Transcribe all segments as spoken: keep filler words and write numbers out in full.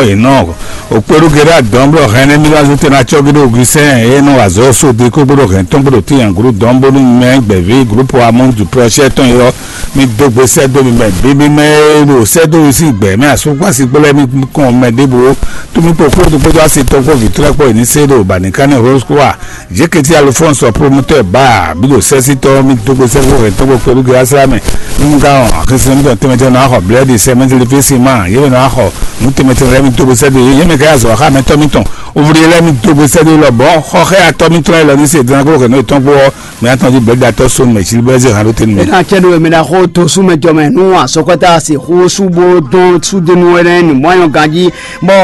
Ɔ yě nɔ òkpéɖúgéɖá dɔn bló hɛn nɛ́ mí lɔ azɔn tɛn ná cɔ́ gé ɖó Augustin e nɔ wa azɔ̌ sóde kó gbóɖó hɛn tɔn gbóɖó tíyan gǔlú dɔn bónú mɛ gbɛ̌ví gǔlúpo amɔ́ du prɔ́ṣɛ tɔn e ɔ́, mí dó gbe sɛ́ dó mi mɛ bǐ mí mɛ e ɖo sɛ́ dó mi sín gbɛ̌ mɛ asúkpási kpó lɛ́ɛ mí kɔn mɛ ɖěbǔ. Tó mí kpó kúló kpódó asi tɔn kpó vǐ tlɛ́ kpó e ní sé ɖo bǎníká nɛ́ Rose kpó a Jéketí Alphonse promoteur ba bí ɖo sɛ́sítɔ́ mì dó gbe sɛ́xó hɛn tɔ́gbó kpɛɖú ge asrá mɛ. Nú ka ɔn axisɛ́n mítɔn tɛnmɛ tɛnmɛ nɔ axɔ blɛ́ɖi sɛ mɛtiri fí sin ma yě mɛ nɔ axɔ nú tɛnmɛ tɛnmɛ lɛ́ɛ mì dó gbe sɛ́ dó yě mɛ ka yá zɔ axá mɛ tɔ́ mítɔn. Ovle lɛ́ɛ mì dó gbe sɛ́ dó lɔ bɔ̌ xɔxɛ atɔ́ mítɔn lɛ́ɛ lɔ ní se dán kó hɛn nɔ tɔn kpó ɔ́ mɛ atɔn jí blɛ́ɖi atɔ́ sónú mɛ sílí bɛ́ zé hǎn ɖó tɛnmɛ. Ena cɛ ɖo mɛ ɖaxó to sú mɛ jɔ mɛ nú asɔkɔta se xó sú bó dɔn sú dénú ɛnɛ nǔmɔ́yɔ ganjí bɔ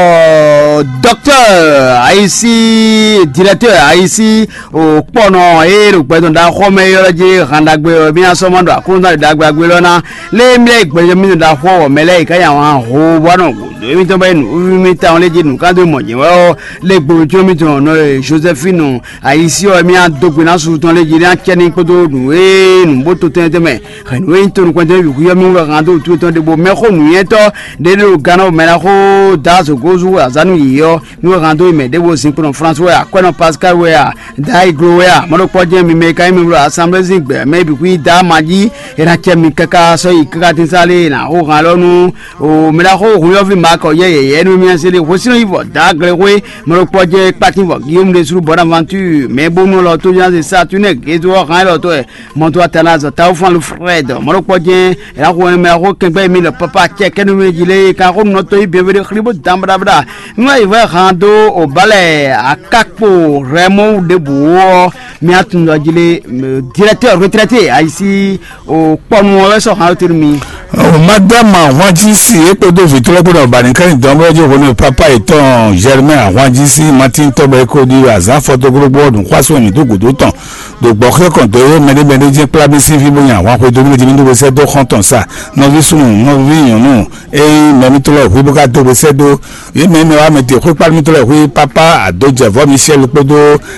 dɔktɛr ayisi, directeur ayisi, o kpɔnɔ eye ɖo gbɛdɔn ɖaxɔ mɛ ylɔ́ jí han ɖagbe ɔ́ mí asɔmɔ ɖo akúnúzán ɖo ɖagbe agbe lɔ ná lé mlɛ gbɛdɔn mí ɖo ɖaxɔ wɔ mɛ lɛ yi ká nya wǎn ho bɔ nɔ gǔdo émítɔn bɛ nuví mí tawun lé jí nǔkando mɔ jɛ wɛ ɔ́ lé gbolo jó mítɔn nɔ Josephine ayisi ɔ́ mí adó gbe ná susu tɔn lé jí ní acɛ ní kpódó nǔ e nǔ bó to tɛnmɛ tɛnmɛ hɛn nǔ e nyí tonukpɛntɔ́ yǔkúyɔ́ mí wɛ han dó wútu tɔn ɖěbǔ mɛxó nǔnywɛ́tɔ́ ɖé ɖo Gánɔ mɛ ná xó dǎ azǒgózú azǎn nú yě ɔ́ mí wɛ han dó yi mɛ ɖěvo zinkplɔ́n François wɛ Akwɛ́nɔ Pascal wɛ a dǎ Iglo wɛ a mɔɖokpɔ́ jɛ́n mi mɛ e ka nyí mi bló asanblée sín gbɛ mɛ bǐ xwí dǎ ma jí è nǎ cɛ mi káká sɔ́ yi káká tín sá lé è nǎ xó han lɔ nú o mɛ ná xó hun yɔ́ví Mark ɔ́ yɛ yɛ̌yɛ́ nú mì ná se ɖe hwesínɔ yi vɔ dǎ glexwé mɔɖokpɔ́ jɛ́n kpátín vɔ Guillaume ɖésú Bonaventure mɛ bónú lɔ tó nya se Saturne gézo ɔ́ han élɔ́ tɔn wɛ mɔto Athanase Taofan Alfred mɔɖokpɔ́ jɛ́n Ela xo mɛ xo kɛngbɛ mi le papa cɛ kɛnu mi ji le ka xo nɔ to yi bienvenu xli bó dan bɖabɖa. Nú ayi vɛ han dó o balɛ akakpo rɛmɔ ɖebu ɔ mi atun dɔ ji le directeur retraité ayisi o kpɔnu ɔ wɛ sɔ han tenu mi. O madame ahwanji si e kpódó vitɔlɛ kpódó ọba nìkan ní dɔn bɛ jẹ wọnú papa etɔn Germain ahwanji si Martin tɔbɛ kó di azan fɔtokrogbó ọdún xwásó mi tó gòdó tɔn. Ɖo gbɔxwé kɔn dó é mɛɖé mɛɖé jɛ́n kplá mì sín fí bó nyi ahwan xwedó nú mì jí mì ɖó we sɛ́ dó xɔ́ntɔn sa nɔví súnnu nɔví nyɔ̌nu e nyí mɛ mitɔ́ lɛ́ɛ hwí bó ka dó we sɛ́ dó yě mɛ mɛ wá mɛ te xwé kpá mitɔ́ lɛ́ɛ hwí pápá àdójɛvɔ́ Michel kpódó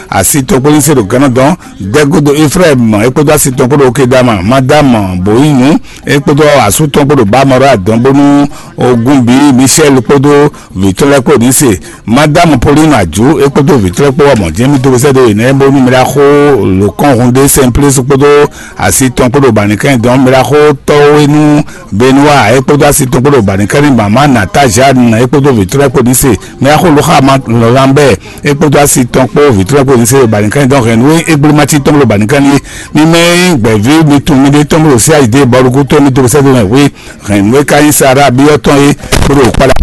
asi tɔn kpó ní se ɖo gannɔ dɔn dɛ́gúdo Efraim é kpódó asi tɔn kpó ɖo Kedama Madame Boyinu é kpódó asú tɔn kpó ɖo Bamɔrɔ adɔn bónú ogun bǐ Michel kpódó vǐ tɔn lɛ́ɛ kpó ní se Madame Pauline Adjou é kpódó vǐ tɔn lɛ́ɛ kpó wá mɔ̌ jɛ́n mì dó we sɛ́ dó yě nɛ́ bónú mì ɖaxó lǒkɔ́nhun ɖé Sɛnplésu kpódó asi tɔn kpó ɖo Banikan dɔn mì ɖaxó tɔ́wénú Benoa é kpódó asi tɔn kpó ɖo Banikan ní mama Nata Jeanne é kpódó vǐ tɔn lɛ́ɛ kpó ní se mì ɖaxó Lóxama Lambert é kpódó asi tɔn kpó vǐ tɔn lɛ́ɛ kpó ní se ɖo Banikan dɔn hɛn nú égblémati tɔn kpó ɖo Banikan ní mì mɛ gbɛ̌ví mi tun mi ɖé tɔn kpó ɖo sí ayǐdé bɔlukú tó mi dó we sɛ́ dó mɛ hwé hɛn nǔ e ka nyí Sara byɔ́ tɔn é bó ɖo kpala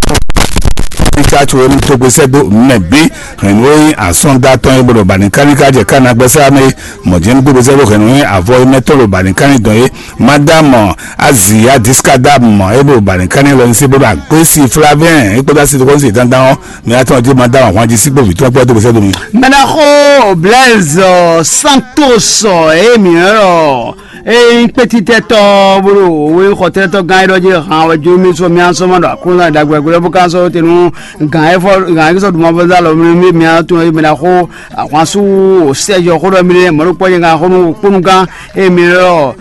ní ká tso émí tó gbésɛ dó mɛ bí hɛn nǔ e nyí asɔ́nda tɔn é bó ɖo bani káníká jɛ ká nagbɛ́ sá mɛ é mɔ̌ jɛ́n gbé gbésɛ dó hɛn nǔ e nyí avɔ é mɛ tɔn ɖo bani kání dɔn é madame Azia Discadam é bó ɖo bani kání lɔ ní sí bó ɖo agbésí Flavien é kpódó asi tó kɔn sí dandan ɔ́ mɛ atɔn jí madame ahwanjí sí gbó vǐ tɔn kpó tó gbésɛ dó mi. Mɛɖaxó Blaise Santos emi ɔ́ Ée nyí kpétítɛ́tɔ́ bó ɖo wěxɔtɛ́tɔ́ gán élɔ́ jí han wɛ jó mì sɔ́ mì asɔ́ ma ɖo Aklúnɔ ɖagbe gbé ɔ́ bó ka sɔ́ te nú gǎn e fɔ gǎn e sɔ́ ɖu mavɔzá lɔ mì mì mì atún e mì ná xó ahwansú o sɛ́jɔ xó ɖɔ mì ɖe mɔ̌ ɖo kpɔ́ nyɛ gán xó nú kpónúgán ée mì ɖɔ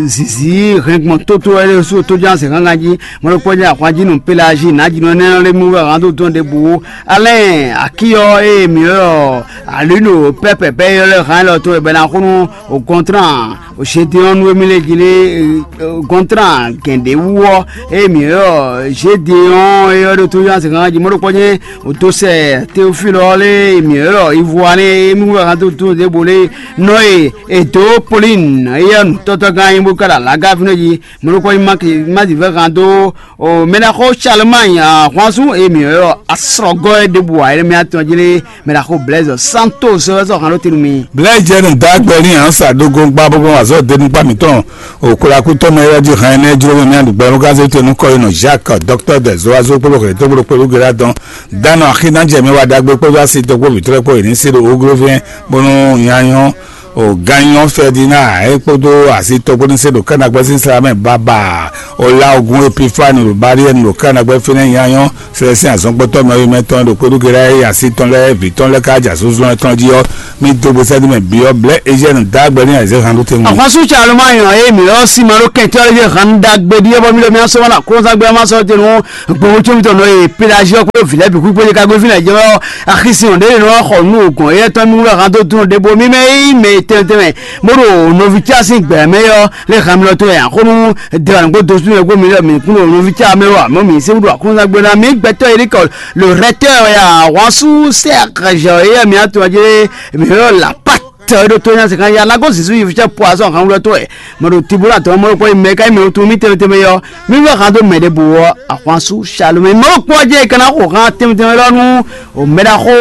zizi hɛngbɔn tótó wɛ ɖé sú tójó azɛ gángan jí mɔ̌ ɖo kpɔ́ nyɛ ahwan jí nú Pelazi nǎjínɔ énɛ́ lɔ lé mì wɛ gán dó dɔn ɖěbǔ alɛ́n akíyɔ ée mì ɖɔ alǐ ɖo pɛ́pɛ pɛ́ yɔ lɛ́ hán élɔ́ tó wɛ bɛ ná xó nú o gɔntrán o Gédéon nú émí lɛ́ɛ jí lé gɔntrán gɛ̌nɖé wú ɔ́ ée mǐ ylɔ́ Gédéon é ɔ́ ɖo tó yɔ́ azǐn kankan jí mɔ̌ ɖokpɔ́ jɛ́n o dó sɛ Teofílu ɔ́ lé mǐ ylɔ́ Ivuanɛ́ émí wú ahan dó dó ɖěbǔ lé nɔ e è dǒ Polín éyɛ́ nǔtɔ́tɔ́gán nyí bó ká ɖo alǎgá fínɛ́ jí mɔ̌ ɖokpɔ́ nyí Máki Mádivɛ́ han dó o mɛ ná xó Salomani ahwanzú e mǐ ylɔ́ asrɔgɔ́ é ɖěbǔ ǎ énɛ́ mɛ atɔn jí lé mɛ ná xó Blɛ̌zɔ Santos wɛ sɔ́ han ɖó te nú mi. Blɛ̌jɛnu dó agbɛ ní ansa ɖó gɔngba bó gbɔn azɔ̌ denugba mǐtɔn òkúlakútɔ́ mɛ wɛ jí hɛn énɛ́ jló mɛ mɛ ɖu gbɛmɛ gán zé te nú kɔyinɔ Jacques docteur des oiseaux kpódó xlě tó kpódó kpódó gbe dɔn dánɔ axínájɛ mɛ wá ɖagbe kpódó asi tó kpó vǐtrɔ́ kpó yě ní sí ɖo oglovɛn bónú nyanyɔ́ O ganyɔ Ferdinand e kpódó asitɔ́gbónúse ɖo kɛ́nagbɛ́ sín sla mɛ baba. O la ogun Epifani ɖo Bariɛni ɖo kɛ́nagbɛ́ fínɛ́ nyanyɔ sɛlɛsín azɔngbɔtɔ́ mɛwimɛtɔn ɖo kpódó Gera e asi tɔn lɛ́ɛ vǐ tɔn lɛ́ɛ ka ja zunzun tɔn jí ɔ́, mì dó gbe sɛ́dí mɛ bǐ ɔ́ blɛ́ Eziɛni dó agbɛ n'i ayizɛ́ han ɖó tɛnmɛ. Ahwansu Caloma nyɔ e mǐ ɔ́ sin ma ɖó kɛntɔ́ lɛ́ɛ hán ɖagbe ɖíe bɔ mì ɖo mì asɔ́ ma ɖo aklúnɔzán gbé ɔ́ ma sɔ́ te nú gbɔn wútu mitɔn nɔ e Pelazi ɔ́ kpódó vǐ lɛ́ɛ bǐ kú kpódó ka gbé fínɛ́ jɛ ɔ́, axisí hɔn ɖé nɔ xɔ nú gɔn éyɛ́ tɔn mì wú ɖɔ han dó dún ɖěbǔ mì mɛ yí mɛ tɛnmɛ tɛnmɛ bó ɖo nɔví cá sín gbɛ̌ mɛ ɔ́ lé han mì lɔ tó yɛ axónú dɛwà nǔgbó dó sú mɛ gbó mì lɔ mì kún ɖo nɔví cá mɛ wá mɔ mì sí wúɖu aklúnɔzán gbé ná mì gbɛtɔ́ yě ɖi kɔ le rɛtɛ́ ya ahwansu sɛ́ axɛzɛ éyɛ́ mì atɔn jɛ mì ɔ́ la pát tɛ ɖo tó nya se kan ya lago zizu yi fitsɛ po azɔ han wulɔ tó ɛ mɛ ɖo tibula tɔ mɛ ɖo kɔ yi mɛ ka yi mɛ ɖo tu mi tɛmɛ tɛmɛ yɔ mi wɛ han do mɛ ɖe bo wɔ ahwansu salome mɛ ɖo kpɔ jɛ kana xo han tɛmɛ tɛmɛ lɔ nu o mɛ ɖa xo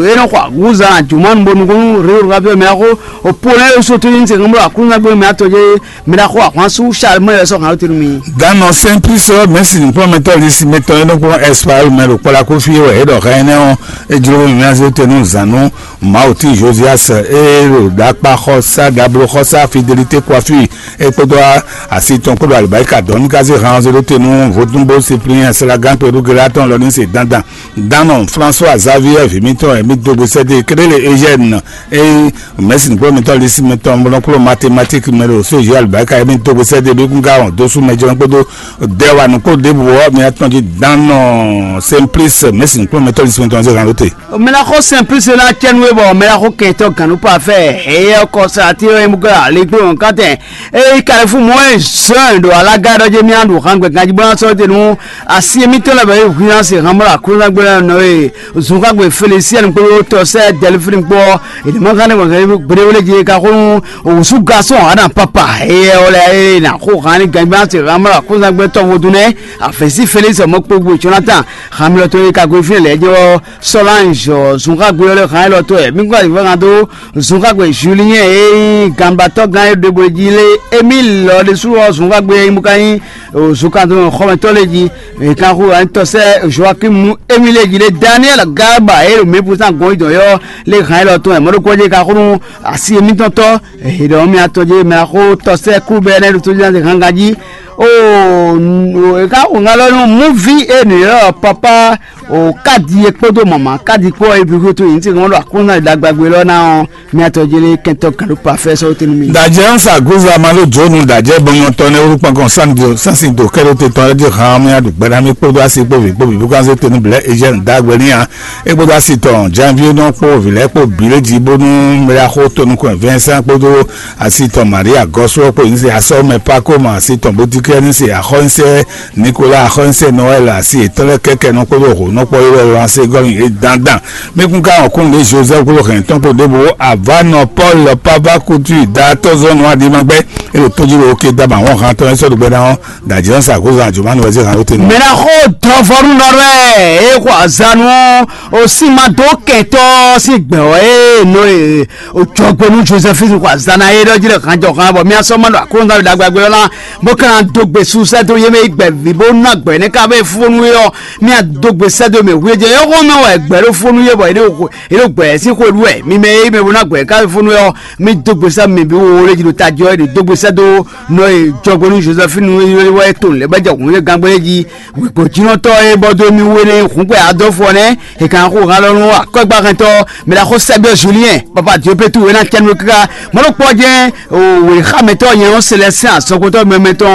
e nɔ xɔ aguza juma nu bo nukun ri o ka fi mɛ xo o po ne so tu ni se kan bolo akunza gbe mɛ atɔ jɛ mɛ ɖa xo ahwansu salome yɛ sɔ han tɛnu mi. Danɔ Simplice mɛsi nukplɔmɛtɔ lisi mɛtɔ e nɔ kplɔn Espagne mɛ ɖo kpɔla kofi wɛ e ɖɔ hɛn nɛ ɔn e jlo mi mɛ se tɛnu zanu Mawu tín Josias ée ɖo ɖakpaxɔsá ɖabloxɔsá Fidelité Coiffure é kpódó asi tɔn kpódó alibáyíká dɔn ní ká zé han ɔ́ zé ɖó te nú vodúnbó Cyprien Slágán Perugela tɔn lɔ ní se dandan. Dánɔ François Xavier vǐ mítɔn e mí dó gbe sɛ́ dó Kéɖélé Eugène ée mɛ̌si nǔgbó mítɔn Lisi mítɔn mlɔ́kplɔ́ mathématique mɛ ɖo sóziyɔ alibáyíká e mí dó gbe sɛ́ dó bí kún ká wɔn dó sú mɛ jɔ́n kpódó dɛwanu kpó ɖěbǔ ɔ́, mi atɔn jí Dánɔ Simplice mɛ̌si nǔgbó mítɔn Lisi mítɔn zé han ɖó te. Melaxɔ Simplice ná cɛnu e bɔ melaxɔ kɛntɔ gannú parfait eye kɔsa ti e mu gɔ́ ali kpé wɔn kátɛ eye kalifu mɔ ɛ zɔn ɖo alaga ɖɔ jɛ mía ɖo han gbɛ ganji bɔ sɔ te nu asi mitɔ lɛ bɛ hui na se han mɔ aklúnagbe nɔ ye zunkangbɛ Felisiɛn kpó tɔsɛ Dɛlifini kpó ene ma kan ne gbɛgbɛ wele je ka xo nu osu gasɔn ana papa eye wala eye na xo han ni ganji bɔ se han mɔ aklúnagbe tɔvo dun nɛ afɛsi Felisi mɔ kpogbo Jonathan han mi lɔ to ye ka go fi lɛ jɛ wɔ Solange zunkangbɛ lɛ han lɔ to ɛ mi gbɔ yi fɛ kan do zunkangbɛ Julien e ganbatɔ gan e ɖe bo ji lé Emile lɔ ɖe su wɔ zunkangbɛ e mu ka nyi zunkangbɛ xɔmɛtɔ lɛ ji e kan xo an tɔ sɛ Joachim Emile ji lé Daniel Garba e ɖo mɛ pusan gɔn idɔn yɔ lé han lɔ to ɛ mɔɖokɔ je ka xo nu asi emitɔn tɔ ehe ɖɔ mi atɔ je mɛ axo tɔ sɛ kú bɛ ne ɖo to jina de gangan ji o e ka xo ŋa lɔ nu muvi e nuyɔ papa o kadi e kpódó mama kadi kpó e bi xótó yi ŋuti ŋɔ́ ɖo aklúnɔ ɖagbagbe lɔ ná ɔ́ mi atɔ jele kɛntɔ kan ɖo pafɛ sɔ tenu mi. Dajɛ ń sa Guza ma ló jónu dajɛ bɔnyɔtɔ ne orúkọ kan sandio sansin do kɛló te tɔn lé di hàn mi aɖu gbɛɖa mi kpódó asi kpó vi kpó vi bó kan se tenu blɛ ejɛ ń dá gbɛ ní ya e kpódó asi tɔn janvier nɔ kpó vi lɛ kpó bi lé di bónú mɛ ya xó tonu kɔn Vincent kpódó asi tɔn Maria gɔsɔ kpó ní se asɔ mɛ Paco ma asi tɔn bótikɛ ní se axɔ ní se Nicolas axɔ́sɛ Noël asi yětɔn lɛ́ɛ kɛ́kɛ́ nɔ kpódó hǒnɔkpɔ́ yi wɛ lanse gɔ́ nyi yě dandan. Mí kún ká wɔn kún ɖě Joseph kpódó hɛn tɔn kpó ɖěbǔ avánɔ Paul Pavakutu datɔzɔ́nù Adimagbɛ́ é ɖo tójúɖo oke daba wɔn han tɔn é sɔ́ ɖo gbɛ́ ná ɔ́ dajɛ ɔ́ sa gǒzan Jomanu wɛ zé han ló tenu. Mɛ ná xó dɔvɔnu nɔ lɛ é xɔ azanu ó sì má dó kɛntɔ sí gbɛ ɔ́ é nɔ é Ojɔgbonu Joseph xɔ azana e ɖɔ jí ɖe hanjɔhan bɔ mía sɔ́ ma ɖo aklúnɔzán ɖagbe ɔ́ ná bó ka ná dó gbe su sɛ́ dó yé mɛ yi gbɛ̌ví bó ná gbɛ̌ nɛ́ ká bɛ fónú é ɔ́, mía dó gbe sɛ́ dó mɛ hu é jɛ é xɔ́n mɛ wɛ gbɛ̌ ɖó fónú é bɔ é ɖo gbɛ̌ sín xwe ɖu wɛ mi mɛ é mɛ bó ná gbɛ̌ ká bɛ fónú é ɔ́, mi dó gbe sɛ́ mɛ bǐ wo lé jí ɖo tají ɔ́, é ɖo dó gbe sɛ́ dó nɔ e jɔgbonu Joseph nu é wɛ to lɛ́ bá jɛ hǔn é gángbɛ́ jí wěkpɔ́jínɔtɔ́ e bɔ dó mì wé nɛ́ hǔngbɛ adɔ́fɔ nɛ́ è kan xo han lɔ nú akɔ́gbáhɛntɔ́ mɛ ɖaxó Sɛ́byɔ́ Julien papa Diopétu é ná cɛ́ nú káká mɔ̌ ɖokpó ɔ́ jɛ́n wěxámɛtɔ́ nyɛ ɔ́ Selɛstin azɔnxotɔ́ mɛmɛtɔn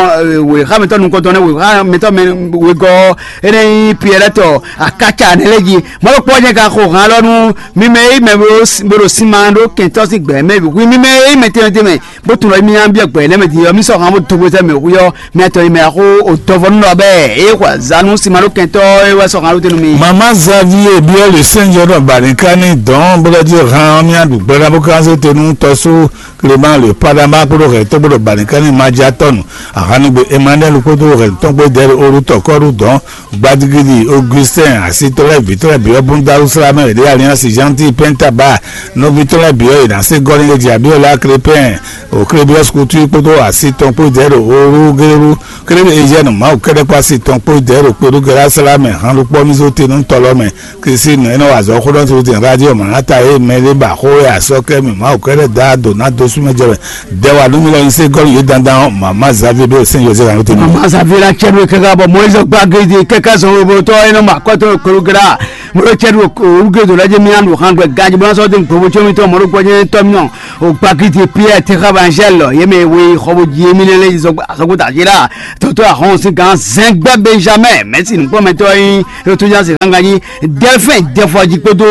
wěxámɛtɔ́ nukɔntɔn nɛ́ wěxámɛtɔ́ mɛ wegɔ́ ɔ́ é nɛ́ nyí Piɛlɛ́tɔ akáca nɛ́ lɛ́ɛ jí mɔ̌ ɖokpó ɔ́ jɛ́n ka xo han lɔ nú mi mɛ e mɛ bo ɖo sinma ɖó kɛntɔ́ sín gbɛ̌ mɛ bǐ hwí mi mɛ e mɛ tɛnmɛ tɛnmɛ bó tunwun ɖɔ mi nya byɔ́ gbɛ̌ nɛ́ mɛ din ɔ́ mi sɔ́ han bó dó gbézɛ́ mɛ hwí ɔ́ mi atɔ yi mɛ axó o dɔvɔ nú nɔ bɛɛ eye xɔ azanu si ma ɖó kɛntɔ e wɛ sɔ han ɖó te nú mi. Mama Xavier byɔ́ le sɛnjɔ ɖɔ bani ká ní dɔn bó lɔ jí han ɔ́ mía ɖu gbɛɖá bó ká zé te nú tɔsú Clément le Padama kpódó hɛn tɔn kpódó bani ká ní ma ja tɔnu ahanugbe Emmanuel kpódó hɛn tɔn gbé dɛ olú tɔkɔɖu dɔn Gbadigidi Augustin asitɔlɛ vitɔlɛ biɔ bunda uslamɛ de alliance gentil pentaba nɔvitɔlɛ biɔ yi na se gɔni le diabiola crépin o crébius couture kpódó asi tɔn kpó jɛ ɖo orúgérú. Kéré Eziɛnu Mawu kɛ́ɖɛ́ kpó asi tɔn kpó jɛ ɖo kpéɖú Gɛlásala mɛ, han ɖokpɔ́ mì zó te nú tɔlɔ mɛ. Kristi nɔ e nɔ wa azɔ̌ xó ɖɔ to din radio Manata e mɛ ɖé ba xó e asɔ́ kɛ mì Mawu kɛ́ɖɛ́ da do ná dó súnmɛ jɛ mɛ. Dɛ wa nú mi lɔ nyi se gɔ́ nú yě dandan ɔ́, mama Xavier ɖo sɛn José kan tɛnɛ. Mama Xavier la cɛ ɖo kɛkɛ bɔ Moïse gba gidi kɛkɛ zɔn webotɔ e nɔ ma kɔtɔ kpéɖú Gɛlá. Mo ɖo cɛ ɖo orúgérú ɖo lɛ́ jɛ mì anu han gbɛ ganji bɔ ná sɔ́ dó gbogbo tso mì tɔn mɔ ɖo gbɔjɛ tɔn mì nɔ. O gbagidi Pierre Texaba Angèle yě mɛ e we xɔ bó jí émí lɛ́ lɛ́ yi zɔgbó azɔgbó dǎjí la. Tɔtɔ ahɔn sín gán Zɛngbɛ Benjamin mɛ̌si nǔkplɔ́nmɛtɔ́ e nyí Rotojansi Ganganyi Delphin Dɛfɔji kpódó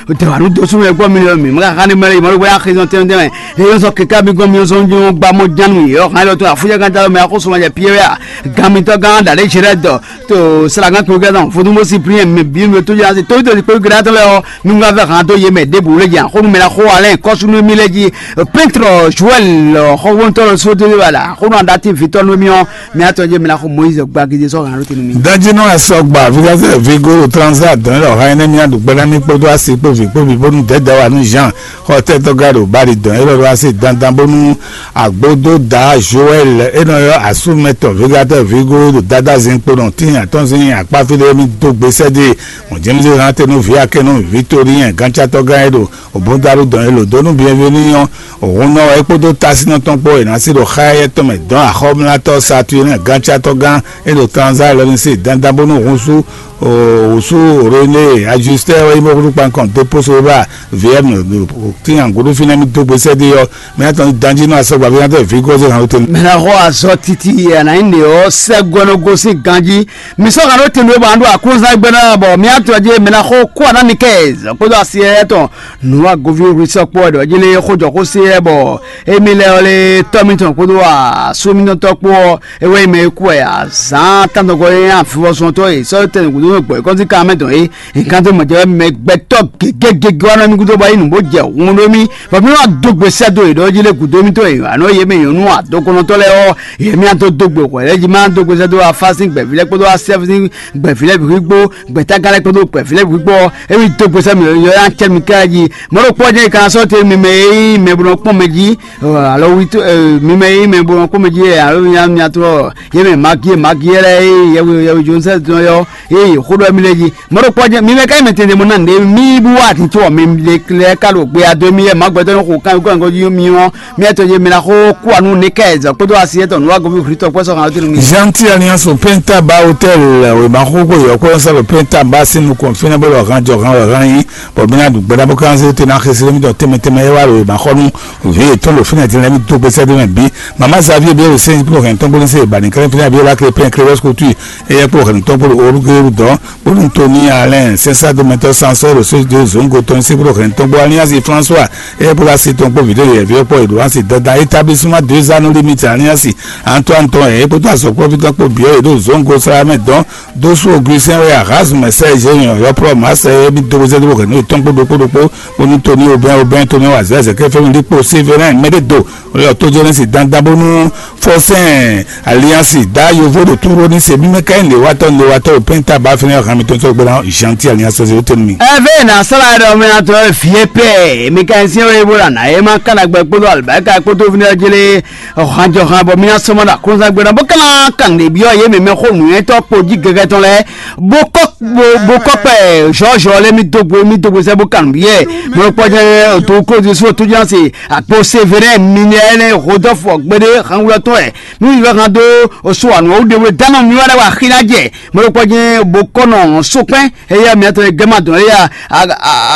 dɛwanu dó súnmɛ gbɔ mi lɔ mǐ ma ka xá ní mɛ lɛ yi mɔɖó bóyá xezɔn tɛnmɛ tɛnmɛ. Lé yɔn sɔ keka mi gɔn mi yɔn sɔn nyɔn gba mɔ jánu yě ɔ́ hán lɔ tó afúnjɛ gán dalo mɛ axó sɔmɔ jɛ Pierre a gán mitɔ́ gán ɖa lě jɛ lɛ́ dɔ to Salagán kpéwú gán tɔn Vodúnbó Cyprien mɛ bǐ mi tó jɛ asi tó tó kpéwú gán tɔn lɛ ɔ́. Nungbavɛ hán dó yě mɛ ɖěbǔ lé jan xó numɛ ná xó alɛn kɔ́súnú mì lé jí. Pɛ́ntrɔ Joɛl xɔxóntɔ́ lɔ sódó wala xónú aɖatí vǐtɔ́ nú mì ɔ́, mì atɔn jɛ mì ná xó Moyize gbagidi sɔ́ hǎn ló tenu mì. Dajínɔ asɔgba fíkásɛ vigo transa dɔn lɔ ha ɛnɛ mì aɖu gbɛɖá mì kpódó asi kpó vǐ kpó vǐ bónú dɛ̌dɛ̌ wa nú Jean xɔ tɛ́tɔ́ gá ɖo bali dɔn élɔ́ ɖo asi dandan bónú agbódó da Joɛl é nɔ ylɔ́ asúmɛtɔn fíkátɛ vigo ɖo dadá zin kpo nɔ tíin atɔ́nzin akpáfí ɖé mì dó gbe sɛ́ dó e. Mɔ̌ James hán te nú vǐ akɛ́nú Victorien gántsatɔ́ gán e ɖo Obundalu dɔn e lǒ dó nú Bienvenu ɔ́, òhun nɔ wɛ é kpódó tásinɔ tɔn kpó e ná sí ɖo xá éyɛ́ tɔn mɛ dɔn axɔ́mlátɔ́ Saturnin gántsatɔ́ gán e ɖo Transa lɔ ní se dandan bónú hun sú wǔsú René Ajustɛ́ wɛ nyí mɔ̌kútú kpankɔn dó pósó bá V M tín angǔɖú fínɛ́ mì dó gbe sɛ́ dó ɔ́, mɛ tɔn danjí nú asɔgba ví ná tɛ vǐ gɔ́ zé hàn lóte. Mɛ ná xɔ azɔ titi e a nǎ nyí ɖě ɔ́ sɛ́ gɔ́ nɔ gosín ganjí. Mi sɔ́ hàn ɖó tɛnɖó bɔ a ɖo aklúnzán gbɛ́ ná bɔ mi atɔ́ jí mi ná xo kó aná Nikɛz kpódó asi éyɛ́ tɔn nǔ agoví wlí sɔ́ kpó wɛ ɖɔ jí lé xójɔxósé yɛ bɔ émí lɛ́ ɔ́ lé tɔ́ mitɔn kpódó asú mitɔn tɔ́ kpó ɔ́, é wɛ nyí mɛ e kú wɛ azǎn tántɔngɔ́ e nyí avivɔzɔntɔ́ e sɔ́ tɛnɛgǔdo nɔ gbɔ̌ kɔ́nsín kan mɛ dɔn é. Nkan tó mɔ jɛ wɛ mɛ gbɛtɔ́ gěgégégé wa nɔ mì gúdo bɔ é nǔ bó jɛ hun ɖó mì bɔ mì wá dó gbe sɛ́ dó yě ɖɔ jí lé gǔdo mì tó e anɔ yě mɛ nyɔ̌nu adɔkɔnɔtɔ́ lɛ́ɛ ɔ́, yě mì adó dó gbe hwɛ̌ lɛ́ɛ jí má dó gbe sɛ́ dó afá sín gbɛ̌ví lɛ́ɛ kpódó asɛ́ sín gbɛ̌ví lɛ́ɛ bǐ kpó gbɛ̌tágán lɛ́ɛ kpódó gbɛ̌ví lɛ́ɛ bǐ kpó ɔ́, é wí dó gbe sɛ́ mì yɔ yá cɛ mi ká jí. Mɔ̌ ɖokpó ɔ́ jẹ́ ka sɔ́ te mi mɛ e nyí mɛ bó nɔ kpɔ́n mɛ jí, alo wi tó mi mɛ e nyí mɛ bó nɔ kpɔ́n mɛ jí alo mi nya mi atɔ yě mɛ magi magi lɛ́ɛ e yɛwi yɛwi Josɛ́f tɔn yɔ e yě xó ɖɔ mi lɛ́ɛ jí. Mɔ̌ ɖokpó ɔ́ jẹ́ mi mɛ ká nyí mɛ tɛnɖɛ mɔ ná nɖě mi bú wá ati tó mi lɛ ká ɖo gbe adó mi yɛ má gbɛtɔ́ ní xo kan kó jí mi ɔ́, mi ɛtɔ yé mi ná xó kú anu ní kɛ zɔ kpódó asi ɛtɔ nú wá goví hwitɔ kpɛ́ sɔ́ hàn tinu mi. Gentil Alliance au Pentaba Hotel, wěma xóxó yɔ̌kpɔ́ sɛ́ ɖo Pentaba sín nukɔn fínɛ́ bó ɖɔ hán jɔ hán wɛ hán nyí, bɔ mì ná ɖu gbɛɖá bó ká zé te ná xesí mì dɔ tɛnmɛ tɛnmɛ é wá ɖo wěma xɔ nú vǐ yětɔn ɖo fínɛ́ din lɛ́ɛ mì dó gbe sɛ́ dó mɛ bǐ. Mama Xavier bí ɖo sɛ́n kplɔ́ hɛn tɔn gbóni sɛ ìbàní kɛlẹ́ fínɛ́ bí ó lá kle pɛn kle wɛ́sì kútú yìí, é yɛ kpó hɛn tɔn gbóni orúkérú dɔn. Bónú Tony Allen sɛnsá dó mɛtɔ́ sansɔ́ ɖo sójú zǒngo tɔn sí bó ɖo hɛn tɔn gbó Alliance François, é bó ɖo asi tɔn kpó vǐɖó yɛ̌ví ɔ́ kpó è ɖo asi dandan établissement deux anneaux limite Alliance Antoine tɔn ɛ é kpódó azɔ̌kpɔ́ví tɔn kpó bǐ ɔ́ è ɖo zǒngo sara mɛ dɔn dó sú Augustin wɛ Erasme Serge yɔ̌yɔ́plɔ́ Marseille é bí dó bó zɛ́ dó bó hɛn nú yětɔn kpó ɖokpó ɖokpó. Bónú Tony Aubin Aubin Tony wazɛ́ zɛkɛ́ fɛ́nú ɖíkpó Sévérin mɛɖé do Olha, eu tô dizendo assim, dandan bónú fɔsɛn Alliance da yovo ɖo túró ní se mímɛ́ ká nyí lěwatɔ́ lěwatɔ́ ɖo pɛ́nta ba fínɛ́ hàn mi tó sɔ́ gbéra Gentil Alliance sɔ́ sí ó tɛ́ nú mi. Ɛvɛ na sala ɖe ɔmɛ na tɔ fie pɛ mi ka sin ɔyɛ bó la na ye ma kana gbɛ kpódó alibarika kpódó fínɛ́ jele hàn jɔ hàn bɔ mi na sɔmɔ ɖo akɔnsa gbéra bó kana kan ɖe biɔ ye mɛ mɛ xó nǔyɛtɔ kpo jí gɛgɛ tɔn lɛ bó kɔ bó bó kɔ kpɛ zɔzɔ lɛ mi dogbo mi dogbo sɛ bó kan biɛ mɛ kpɔ jɛ to kó di so tó jɛ se akpo severe mi ne ɛnɛ hodɔfɔ gbede hanwulɔtɔ ɛ nu yi vɛ han do so anu o de wle dano mi wa da wa xina jɛ mɛ kpɔ jɛ bó kɔ nɔ so kpɛ eya mi atɔ gɛma dɔn eya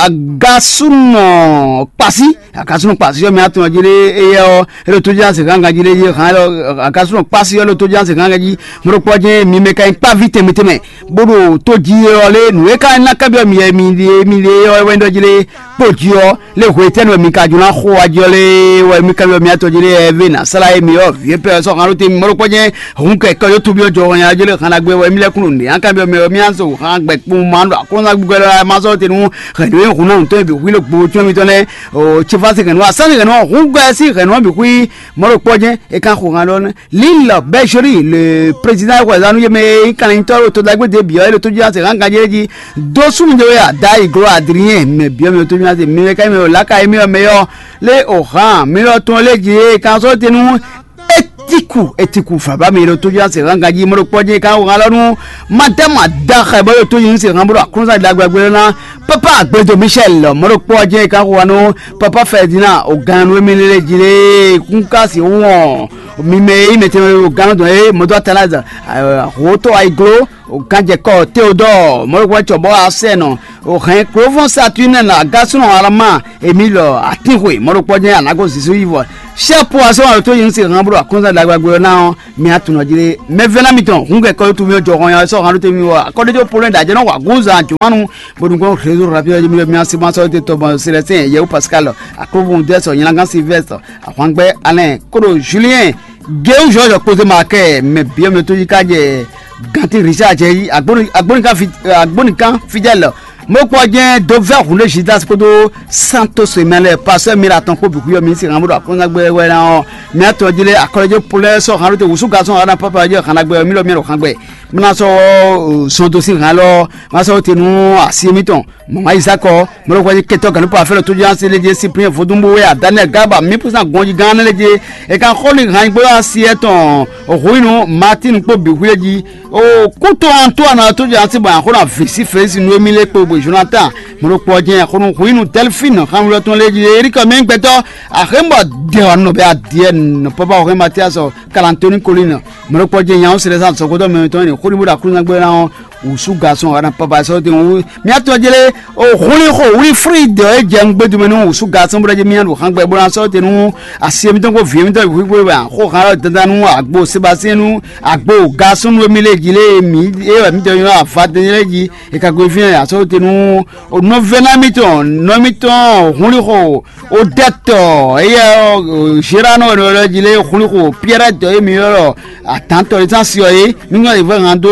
agasunɔ kpasi. Akasunɔ kpasi yɔ mi atɔ jele eya ɔ elo tó jɛ se ganga jele ye han elo akasunɔ kpasi yɔ elo tó jɛ se ganga ji mɛ kpɔ jɛ mi mɛ ka yi kpa vi tɛmɛ tɛmɛ. Bó ɖo tó jí ɔ́ lé nǔ e ka ná kábyɔ́ mi yɛ mi ɖe mi ɖe ɔ́ wɛ ɖɔ jí lé kpó jí ɔ́ lé hwe tɛ́ nú mi ka jló ná xo wá jí ɔ́ lé wɛ mi kábyɔ́ mi atɔ jí lé ɛ vɛ ná sala yé mi ɔ́ vǐ pɛ sɔ́ hàn ló te mi mɔɖó kpɔ́ jɛ́n hun kɛ kɛ yó tubi ɔ́ jɔ hɔn ya jí lé hàn agbe wɛ mi lɛ́ kún nǔ nǐ an kábyɔ́ mi ɔ́ mi á sɔ hàn gbɛ kpún ma ɖo akɔ́nsa gbígbɛ lɔ ma sɔ́ te nú hɛn ɖó hùn náà tó bi hwí ló gbo tsyɔ́n mitɔn lɛ́ɛ o tsi fásitì hɛn nú asánì hɛn nú hùn gbɛ sí hɛn nú bǐ hwí mɔɖó kpɔ́ jɛ́n é ká xo hàn lɔ nɛ́. Lil Bɛzoli le président wɛzanu yé mɛ yi kan nyitɔ to dagbe de biɔ ele to jina se kan ganje ji do sum de ya da iglo adrien mɛ biɔ mi to jina se mi ka mi la ka mi mɛ yɔ le o han mi yɔ tɔn le ji kan so tenu Ku etiku faba mi ɖo tójú ase hanga jí mɔɖokpɔ jɛ ka ho halɔ nu. Madama daxe bɔ ɖo tójú se han bolo aklúnsa ɖagbe gbé na. Papa agbedo Michel mɔɖokpɔ jɛ ka ho nu. Papa Ferdinand o gan nu emi lele jí le kun ka si wɔn. Mi mɛ yi mɛ tɛmɛ o gan dɔn e mɔdɔ atalaza. Ho to ayi glo o gan jɛ kɔ Théodore mɔɖokpɔ cɔ bɔ asɛ nɔ. O hɛn klovɔn Saturne na gasɔn alama emi lɔ atin hwe mɔɖokpɔ jɛ anago zisu yi vɔ. Sɛ po asɔ to yin se han bolo aklúnsa ɖagbe gbé na ɔ. Mi atunɔ jí ɖe mɛvɛ́ná mitɔn hun kɛ kɔ́yɔ́tú mì jɔ hɔn ya sɔ han ɖó tɛ́ mi wɔ akɔ́ɖéjɔ polɛ ɖajɛ nɔ wa gúnza jɔmánu. Bónú gbɔn réseau rapide ɔ́ jí mi mi asi ma sɔ́ te tɔgbɔn Célestin Yɛwu Pascal, Aklóbun Dɛsɔ, Nyinagán Sylvestre, Ahwangbɛ Alain, kóɖo Julien, Géwu Georges kpódé Markɛ, mɛ biɔ mɛ tó yi ká jɛ Ganti Richard jɛ yi, Agbónikan Fidèle, Mokpɔ jɛ dovɛ hun ɖé Judas kpódó Santos mɛ lɛ pasɛ mi la tɔn kpó bǐ xuyɔ mi si hàn bó ɖo aklúnyagbé wɛ ná ɔ́, mi atɔ jí lé akɔlɔjɛ polɛ sɔ hàn ɖó te wǔsú gasɔn hàn ná pápá jɛ hàn ná gbɛ mi lɔ mi ɖo hàn gbɛ. Mla sɔ sɔn dó sín hàn lɔ, ma sɔ te nú asi mitɔn. Mama Isakɔ, mɔlɔkɔ jɛ kɛtɔ ganu pa fɛlɛ tó jɛ asi lé jɛ Cyprien vodún bó wɛ a Daniel Garba mi púsán gɔnji gán lé jɛ. E kan xɔ ni hàn gbɔ asi etɔn, Ruinu Martin kpó bǐ xuyɔ jí. O kútó Antoine tó jɛ asi bɔ axɔ́ na vǐ sí Félix nú émí lé kpó bwe Jonathan, mɔlɔkɔ jɛ xɔnu Ruinu Delphine xanwlɔ tɔn lé jí. Erikɔ mi gbɛtɔ, axémbɔ dɛ wa nɔ bɛ adiɛ nɔ papa xɔxɛ Mathias Kalantoni Colline, mɔlɔkɔ jɛ nyawo sɛlɛ sa sɔkɔtɔ mɛ tɔn ni xɔni bó ɖo aklúnyagbé ná ɔ́. Wǔsú gasɔn wa ná papa sɔ́ te wú. Mía tɔn jlé o húnlí xo Wilfrid e jɛ ngbé dumɛ nú wǔsú gasɔn bó ɖɔ jí mía ɖo xángbɛ bó ná sɔ́ te nú asi mitɔn kó vǐ mitɔn wíwú wɛ xó hán lɔ dandan nú agbo Sebastien nú agbo gasɔn nú émí lé jí lé mi é wɛ mitɔn nyɔ́ avatɛn lé jí. E ka gbe fínɛ́ asɔ́ te nú nɔvɛ́ná mitɔn nɔ mitɔn húnlí xo Odɛtɔ, eyɛ Gerard nɔ wɛ ɖɔ jí lé xwlíxo Pierre tɔ e mi ylɔ́ ɖɔ atantɔ e zán si ɔ́ é, mi ŋlɔ́ yě vɛ hán dó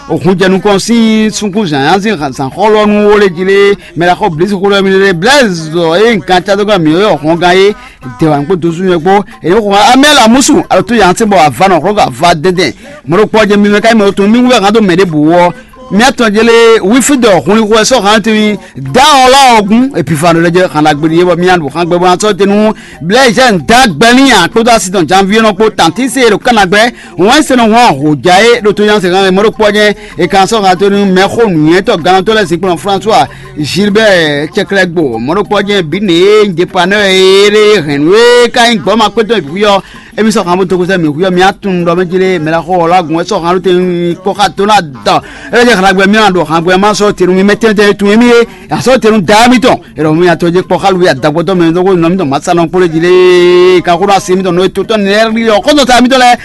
hun jɛ nukɔn sín súnkún zǎnzǎn sín zǎnxɔlɔ́nú wo lé jí lé mɛ ɖaxó Blísu xó lɛ́ mi lé Blaise e nyí gantadógán mǐ ylɔ́ hɔngán é dɛ̌wǎn kpó dosúnyɛ kpó. È nǐ xo amɛ la músu alo tó yǎnsé bɔ ava nɔ xlɔ́ ava dɛndɛn mɔ̌ ɖokpó ɔ́ jɛ mi mɛ ká nyí mɛ tɔn mi wú vɛ hán dó mɛ ɖěbǔ ɔ́. Mía tɔn jɛ lé wífídɔ hunlixo wɛ sɔ́ hǎn tɛ́nwí dá ɔ́ lá ɔ́ gún Epifano lɛ́ jɛ xan ɖagbe ɖi é bɔ mía ɖo xan gbɛ bó ná sɔ́ te nú Blaise Jean dá gbɛ n'i ǎ kpódó así tɔn Janvier nɔ kpó tantí se ɖo Kana gbɛ wɛn se nɔ hɔn hǒjá é ɖo tó nyá se hán mɛ ɖokpó jɛ è kan sɔ́ hǎn te nú mɛxó nǔnywɛ́tɔ́ gannɔtɔ́ lɛ́ɛ zinkplɔ́n François Gilbert Cɛklɛgbo mɔ ɖokpó jɛ bǐ nɛ é nyí depanɛ́ é ɖé hɛ̌nnu é ka nyí gbɔ̌ ma kpétɔ́ bǐ ɔ́. Emi sɔ xan bó dó kúsɛ mǐ xuyɔ mǐ atún ɖɔ mɛ jí lé mɛ la xɔ ɔlá gùn wɛ sɔ xan ló te kpɔ xa tó ná dɔ. Ɛ jɛ xan gbɛ mí na ɖo xan gbɛ má sɔ tenu mí mɛ tɛntɛn tun émí yé asɔ tenu da mí tɔn. Ɛ lɔ mí atɔ jɛ kpɔ xa lu ya dagbɔtɔ mɛ dɔgɔ nɔ mí tɔn ma sa nɔ kpolo jí lé kan xó asi mí tɔn nɔ eto tɔn nɛ ri ɔ kɔtɔ ta mí tɔn lɛ.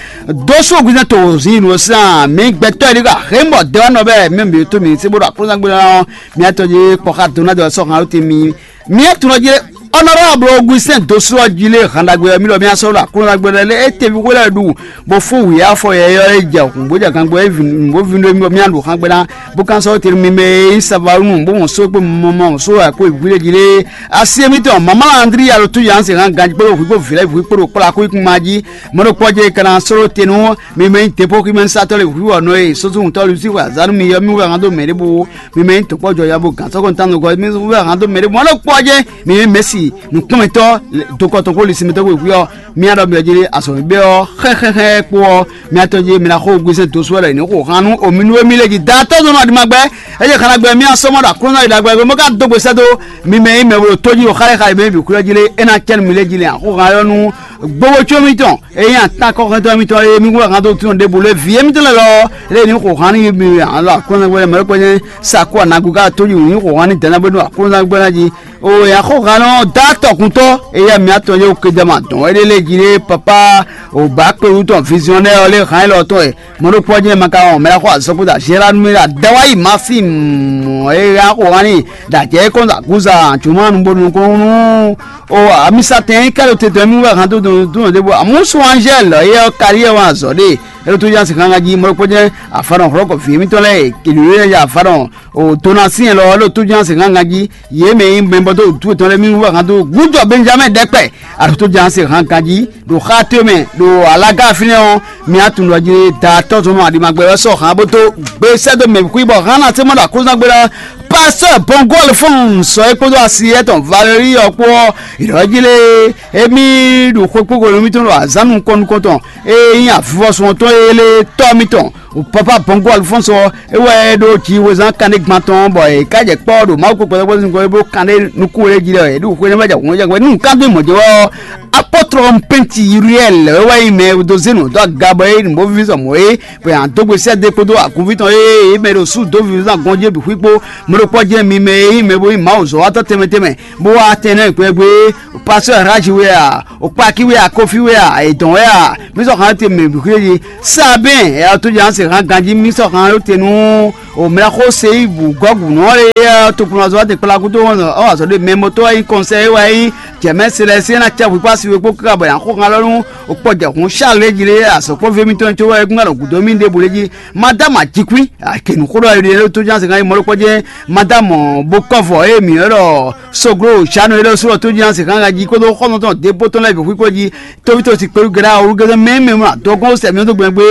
Dó so gbɛsɛ to zi nɔ san mí gbɛtɔ yi ka xé mɔ dɛ wa nɔ bɛ mí mi to mi se bó ɖo akpɔ sa gbɛ na mí atɔ jɛ kpɔ xa tó ná dɔ sɔ xan ló te mí. Mía tunɔ jí honorable Augustin Dosso ɔ́ jí lé hǎn ɖagbe ɔ́ mí ɖɔ mía sɔ́ ɖo Aklúnɔ ɖagbe lɛ́ɛ lé é teví xwé lɛ́ɛ ɖu bó fún wǐ afɔ yɛyɔ́ é jɛ hǔn bó jɛ gangbɔ é vǐ bó vǐ ɖó mí bɔ mía ɖu hǎn gbe ná bó kán sɔ́ tenu mi mɛ e nyí Savalunu bó mɔ só kpó mɔmɔ só wɛ kó vǐ lé jí lé asi émítɔn mama Andri alo tú yǎn se hǎn ganjí kpódó hwǐ kpó vǐ lɛ́ɛ hwǐ kpódó kplá kó kún ma jí mɔ̌ ɖokpó jɛ kana sɔ́ ɖo te nú mi mɛ nyí depo ximɛ satɔ́ lé hwǐ wɔ nɔ e sósó ŋutɔ́ lu sí hwɛ azǎn nú mi yɔ mí wɛ hǎn dó mɛ ɖěbǔ mi mɛ nyí tokpɔ́jɔ ya bó gǎn sɔ́ kɔn tán nukɔ mi wɛ hǎn dó mɛ ɖěbǔ mɔ̌ ɖokpó jɛ mi mɛ mɛ̌si nǔkplɔ́nmɛtɔ́ dokɔtɔn kpó lisinmɛtɔ́ kpó wěwé ɔ́, mía ɖɔ mǐ ɔ́ jí azɔ̌ mǐ bɛ́ ɔ́ xɛxɛxɛ kpó ɔ́, mía tɔn jí mǐ ná xo gbèsè dó sú wɛ lɛ ní xo han nú omi nú émí lé jí da tɔ́ zɔn nɔ aɖimagbe. É jɛ xanagbɛ mía sɔmɔ ɖo aklúnɔ yi ɖagbe mɔ ká dó gbe sɛ́ dó mi mɛ yi mɛ bo ɖo tó jí ɖo xálé xálé mɛ bǐ kúlɔ jí lé é ná cɛ́ nú mi lé jí lé axó han ɔ́ nú gbogbo có mitɔn é nyí atán kɔxɛntɔ́ mitɔn é mi wɛ han dó tún ɖěbǔ lé vǐ émítɔn lɛ lɔ lé ní xo han nú mi alɔ aklúnɔ gbɛ mɛ lɔ kpɛnyɛ sakó anagu ká tó jí wǔ ní xo han ní dɛ̌nɛ́ bó nú aklúnɔ gbɛ ná jí. O ya xó hanɔ dá tɔkuntɔ eya mia tɔn ye o kedama dɔn wɛ ɖe lé jí lé papa o ba kpe wutɔ visionnaire ɔ lé han élɔ́ tɔn ɛ mɔɖokpɔ jɛ ma ka wɔn mɛ la xɔ azɔkuda Gérard mi la dawayi ma fi mɔ e ya xó hani da jɛ kɔn da guza juma nu bonu kɔn nu o amisatɛn yi kɛlɛ tete mi wɛ han to dun dun de bo amusu Angèle ye ɔ kari yɛ wɔn azɔ de É ɖo tójánsi xángan jí mɔ̌ kpɔ́ jɛ́n afanɔ hlɔ̌kɔ vǐ émítɔn lɛ́ɛ e kěɖo é ya afanɔ o donasi lɔ é ɖo tójánsi xángan jí. Yě mɛ e nyí mɛbɔtɔ́ wǔtu yětɔn lɛ́ɛ mì wú axan dó gǔjɔ Benjamin ɖɛkpɛ. A ɖo tójánsi xángan jí ɖo xá towe mɛ ɖo alága fínɛ́ ɔ́, mi á tunwun ɖɔ jí da tɔ́ zɔn nɔ aɖimagbɛ wɛ sɔ́ hǎn bó dó gbe sɛ́ dó mɛ xwí bɔ hǎn ná sé mɔ ɖo aklúzán gbe ná. Pasteur Bongo Alphonse sɔ é kpódó asi étɔn Valérie ɔ́ kpó ɔ́, yě ɖɔ jí lé émí ɖo xwé kpókpo nú mítɔn ɖo azǎn nukɔn nukɔn tɔn e nyí avivɔsun ɔ́ tɔn e lé tɔ́ mítɔn. Papa Bongo Alphonse ɔ́, é wɛ é ɖó jǐwezán kanɖé gban tɔn bɔ è ká jɛ kpɔ́ ɖo Mawu kpɔkpɔ́ kpɔ́ sín kɔ é bó kanɖé nukún wɛ jí lɛ́ é ɖo xwé nɛ́ jɛ hǔn jɛ nú ká dó mɔ̌ jɛ wɛ ɔ́. Apɔ́tlɔ Pɛnti Uriɛl é wɛ nyí mɛ e dó zé nǔ dó aga bɔ é nǔ bó víví sɔ mɔ̌ é, bɔ yě ná dó gbe sɛ́ dó kpódó agunví tɔn e é mɛ ɖo sú dó víví zán gɔ́n jí bǐ xwí kpó. Mɔ̌ ɖokpɔ́ jɛ́n mi mɛ e nyí mɛ bó nyí Mawu zɔ̌watɔ́ tɛnmɛ tɛnmɛ, bó wá tɛn nɛ́ gbɛgbɛ. Pasteur Raji wɛ a, o Kpaki wɛ a, Kofi wɛ a, Edɔn wɛ a, mi sɔ́ xan te mɛ bǐ xwé jí. Sabɛn ɛ ɔ́ tó jɛ se hàn ganjí mi sɔ́ xan te nú o mɛ xó se yí bǔ gɔ́gǔ nɔ lé ɛ tokplɔ́nzɔ́ te kplá kútó ɔ́ azɔ̌ ɖé mɛ mɔtɔ́ wɛ nyí kɔnsɛ wɛ nyí jɛmɛ se lɛ se ná cɛ hwikpá si we kpó káká bɔ yǎ xó xan lɔ nú o kpɔ jɛ hǔn Charles jí lé azɔ̌ kpɔ́ ví mitɔn tó wɛ gbígbá ɖo gǔdo mì ɖěbǔ lé jí. Madame Ajíkwí kenu xó ɖɔ ɛ ɖo tó jẹ́ se hàn yí mɔlɔ kpɔ́ jẹ́ Madame Bokɔvɔ eye mǐ ylɔ́ ɖɔ Soglo Jano ylɔ́ sɔ́ tó jẹ́ se hàn jí kódó xɔ́nɔtɔn débó tɔn lɛ́ɛ bǐ xwíxwé jí. Tóvítɔ́ si kpéɖu gɛ́ɖá orúgɛ́dɛ́ mɛ mɛ mlá dɔgɔn sɛ mí tó gbɛngbé.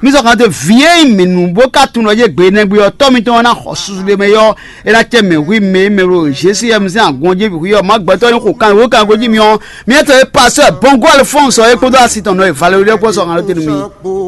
Mí sɔ́ kan te vǐ e nyí mǐ nú bó ka tunwun ɖɔ yé gbe nɛgbé ɔ́ tɔ́ mitɔn ɔ́ ná xɔ susu ɖé mɛ yɔ́. É ná cɛ mɛ hu mɛ mɛ ɖo Jésu yɛ mi sín agɔn jí hwǐ ɔ́ má gbɛtɔ́ nyí xo kan wó kan gbejí mi ɔ́. Miɛtɔ e pasteur Bongo Alphonse ɔ́ é kpódó asi tɔn nɔ e Valerie ɖe kpó sɔ́ kan ɖó te nú mi.